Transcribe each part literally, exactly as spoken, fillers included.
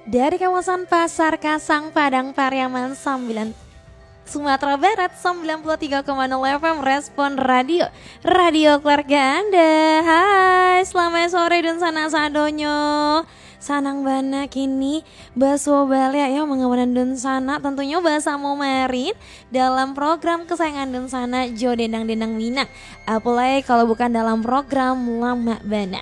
Dari kawasan Pasar Kasang, Padang Pariaman, sembilan, Sumatera Barat, sembilan puluh tiga koma nol F M Respon Radio, radio keluarga Anda. Hai, selamat sore dunsanak sadonyo. Sanang bana kini basuo baliak yo mangawani dunsanak, tantunyo basamo Marin dalam program kesayangan dunsanak jo Dendang-Dendang Minang. Apo lai kalau bukan dalam program Lamak Bana.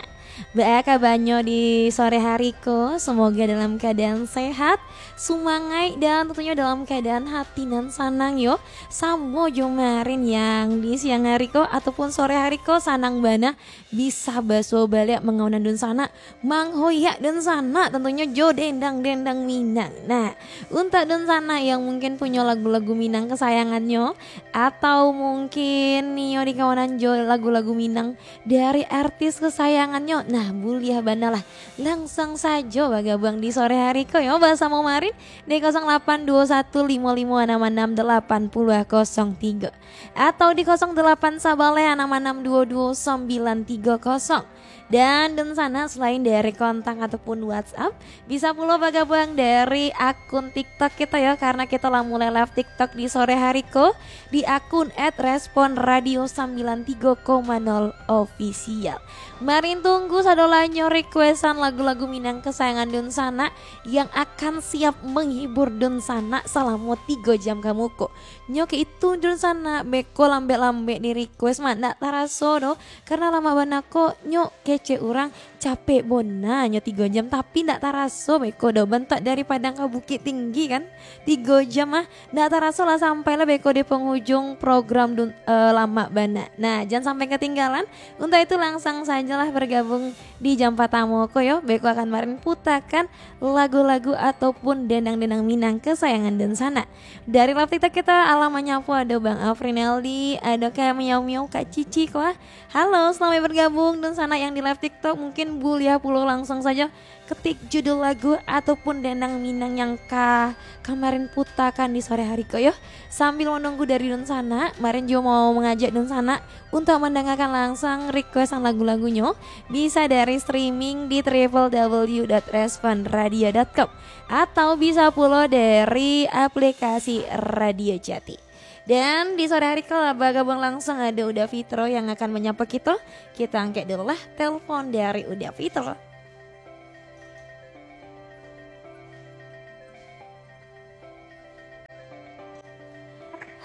Baa kabanyo di sore hari ko? Semoga dalam keadaan sehat, sumangaik, dan tentunyo dalam keadaan hati nan sanang yo. Samo jo Marin yang di siang hari ko ataupun sore hari ko sanang bana bisa basuo baliak mangawani dunsanak, manghoyak dunsanak tantunyo jo Dendang-Dendang Minang. Nah, untuak dunsanak yang mungkin punyo lagu-lagu Minang kesayangannyo, atau mungkin nio dikawanan jo lagu-lagu Minang dari artis kesayangannyo, nah, buliah bana lah. Langsuang sajo bagabuang di sore hari ko yo basamo Marin di kosong lapan duo satu limo limo anam anam dalapan puluah kosong tigo atau di kosong dalapan sabaleh anam anam duo duo sambilan tigo kosong. Dan dunsanak, selain dari kontak ataupun WhatsApp, bisa pulo bagabuang dari akun TikTok kito yo, karena kito lah mulai live TikTok di sore hari ko di akun at respon radio sembilan tiga koma nol official. Marin tunggu sadolahnyo requestan lagu-lagu Minang kesayangan dunsanak yang akan siap menghibur dunsanak salamo tigo jam ka muko. Nyo kek itu dunsanak, beko lambek-lambek di request mah ndak taraso doh, karena lamak bana ko nyo kecek urang. Capek bona nyo tigo jam, tapi ndak taraso beko doh, bantuak dari Padang ka Bukittinggi kan, tigo jam ah, ndak taraso lah sampai lah beko di penghujung program dun-, eh, Lamak Bana. Nah, jan sampai ketinggalan. Untuak itu langsuang sajolah bergabung di jam patamo ko yo, beko akan Marin putakan lagu-lagu ataupun dendang-dendang Minang kesayangan dunsanak. Dari live TikTok kito, alah manyapo, ado Bang Afrinaldi, ado Kak Miau Miau, Kak Cici ko ah. Halo, selamat bergabung dunsanak yang di live TikTok. Mungkin buliah pulo langsuang sajo ketik judul lagu ataupun dendang Minang yang ka kamarin putakan di sore hari ko yo. Sambil menunggu dari dunsanak, Marin juo mau mangajak dunsanak untuak mandangakan langsuang requestan lagu-lagunyo, bisa dari streaming di triple w dot respon radio dot com atau bisa pulo dari aplikasi Radio Jati. Dan di sore hari ko lah bagabung langsuang ado Uda Fitro yang akan manyapa kito. Kito angkek dulu lah telepon dari Uda Fitro.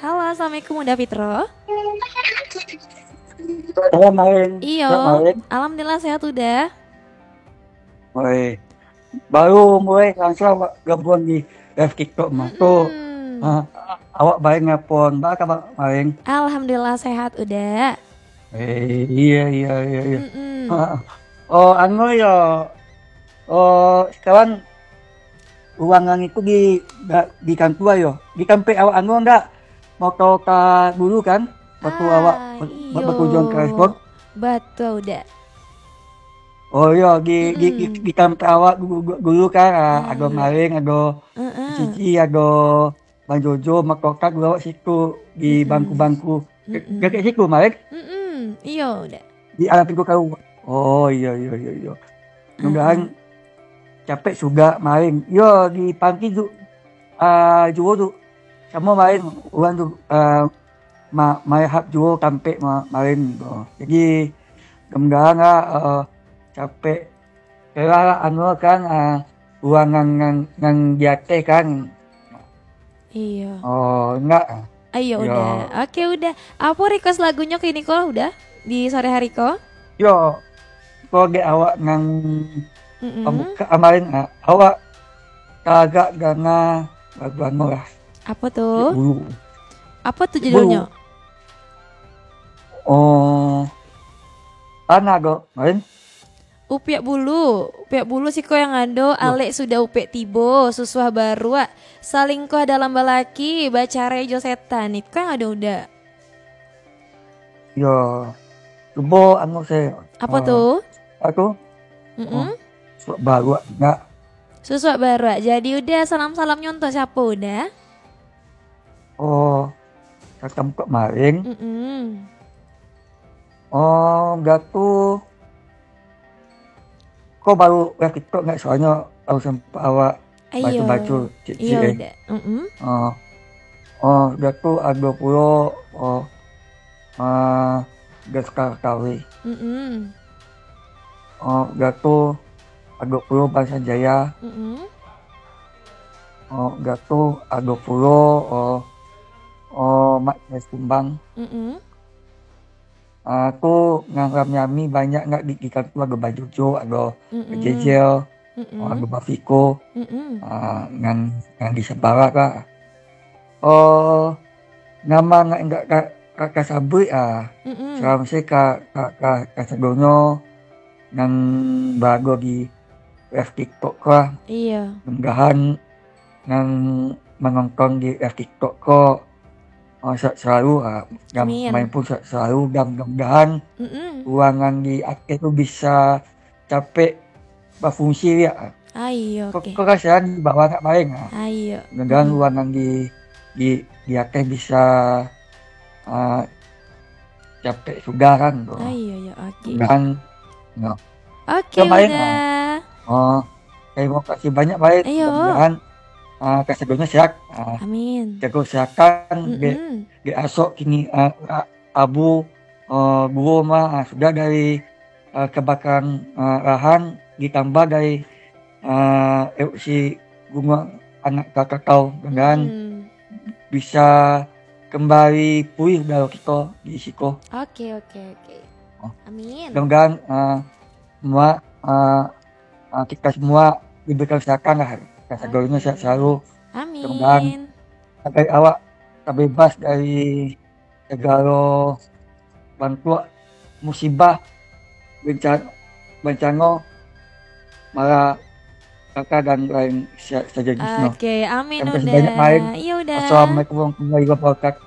Halo, assalamualaikum Uda Fitro. Halo, Marin. Iyo. Sehat, Marin? Alhamdulillah sehat Uda. Oi. Baru mulai langsuang awak gabuang di live TikTok mah. Tu, Mm-mm. ah, awak baeng napon. Baa kaba, Marin? Alhamdulillah sehat Uda. Eh, iya, iya, iya, iya. Mm-mm. Ah, oh, anu yo. Oh, sekarang urang nan itu di, di kantua yo. Di tampek awak anu ndak? Motor ka dulu kan? Waktu Ah, awak ba-, ba-, iyo. Batujuan ka Respon. Batua Uda. Oh, iyo, di, di, di, Mm-mm. di tampek awak du-, du-, dulu kan, ah, ado Ah. Marin, ado Mm-mm. Cici, ado Bang Jojo, Mak Kokak, bawa situ di Mm-mm. bangku-bangku. De-, Mm-mm. Dekat situ, Mak, eh? Mm-mm. Iyo, Uda. Di alam pintu kau. Oh, iyo, iyo, iyo, iyo. Mudah-mudahan Mm-mm. capek sudah main. Yo, di panti tu, ah, juo tu. Samo main, urang tu, ah, ma-, main hap juo tampek ma-, main tu. Jadi, mudah-mudahan lah, ah, capek. Kira lah, anu kan, ah, urang nan, nan, nan di ateh kan. Iyo. Oh, indak. Ayo, Yo. Uda. Oke, Uda. Apo request lagunyo kini ko, Uda? Di sore hari ko? Yo. Ko dek awak nan Mm-mm. pambuka kamarin, ah, awak tagak danga lagu anu lah. Apo tu? Dek dulu. Apo tu Dek dulu. judulnyo? Oh. Ana do, main. Upiak bulu, upiak bulu siko yang ado, Loh. Alek sudah upek tibo, susuah baruak, salingkuah dalam balaki, bacarai jo setan. Iko yang ado, Uda. Yo, cubo anu se-, Apo ah, tu? Apo tu? Mm-mm. Oh, susuak baruak, indak. Susuak baruak. Jadi, Uda, salam-salamnyo untuak siapo, Uda? Oh, tatap muka main. Mm-mm. Oh, Datu. Ko baru live TikTok nggak? Soalnya baru sempat awak Iyo. Baco-baco, ciek-ciek, Iyo, eh. Uda. Mm-mm. Ah, ah, sudah tu ado pulo, ah, ah, Deskar Tawi. Mm-mm. Ah, sudah tu ado pulo Bansan Jaya. Mm-mm. Ah, sudah tu ado pulo, ah, ah, Mat Jaya Kumbang. Mm-mm. Ah, tu nan rami-rami banyak nak di, di kantua, ado Bajojo, ado Mm-mm. Jejel, Mm-mm. ado Bafiko. Mm-mm. Ah, nan, nan di Sabarak lah. Oh, nama nak indak ka, ka, ka sabuik ah. Mm-mm. Salam se ka, ka, ka, ka sadonyo nan barado di live TikTok ko lah. Iyo. Mudah-mudahan nan manonton di live TikTok ko, ah, sehat selalu, ah, dan Amin. Main pun sehat selalu, dan mudah-mudahan Mm-mm. ruangan di ateh tu bisa capek bafungsi, ya. Ah, iyo, Kok, oke. kok kasihan di bawah nak main, ah. Ah, iyo. Mudah-mudahan Mm-mm. ruangan di, di, di ateh bisa, ah, capek sudah kan, tu. Ah, iyo, iyo, oke. Dan, no. Oke, Uda. Oh, terima kasih banyak, Bai. Iyo. Mudah-mudahan, ah, kasadonyo sehat. Ah, Amin. Jago kesehatan, dek, Mm-mm. dek asok kini, ah, ah, abu, ah, duo mah, ah, sudah dari, ah, kebakaran, ah, lahan, ditambah dari, ah, erupsi Gunuang Anak Krakatau, mudah-mudahan Mm-mm. bisa kembali pulih udaro kito di siko. Oke, oke, oke. Oh. Amin. Mudah-mudahan, ah, semua, ah, ah, kita semua diberikan kesehatan lah. Kasadonyo Oke. sehat selalu. Amin. Mudah-mudahan agar awak terbebas dari segalo bantuak musibah, benca-, bencano, malapetaka dan lain sa-, sajenisnyo. Oke, amin, Terima kasih Uda. banyak, Main. Iyo, Uda. Assalamualaikum warahmatullahi wabarakatuh.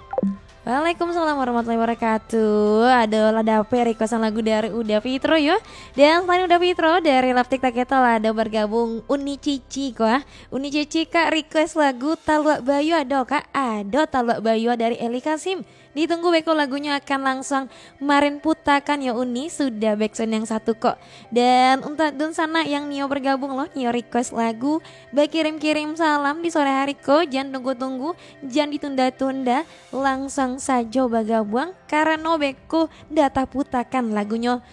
Waalaikumsalam warahmatullahi wabarakatuh. Adolah dapek requestan lagu dari Uda Fitro, yo. Dan selain Uda Fitro, dari Love TikTok kita lah ado bergabung Uni Cici, ko, ah. Uni Cici, Kak, request lagu Taluak Bayu ado, Kak? Ado Taluak Bayu dari Eli Kasim. Ditunggu beko lagunyo akan langsuang Marin putakan yo Uni, sudah backsound yang satu kok. Dan untuak dunsanak yang nio bergabung lo, nio request lagu, bakirim-kirim salam di sore hari ko, jan tunggu-tunggu, jan ditunda-tunda, langsuang sajo bagabuang, karano beko dah taputakan lagunyo.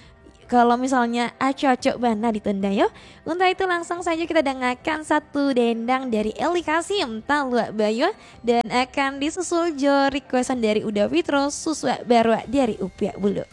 Kalau misalnya acok-acok bana ditunda yo. Untuak itu langsuang sajo kita dangakan satu dendang dari Eli Kasim, Taluak Bayu, dan akan disusul jo requestan dari Uda Fitro, Susuak Baruak dari Upiak Bulu.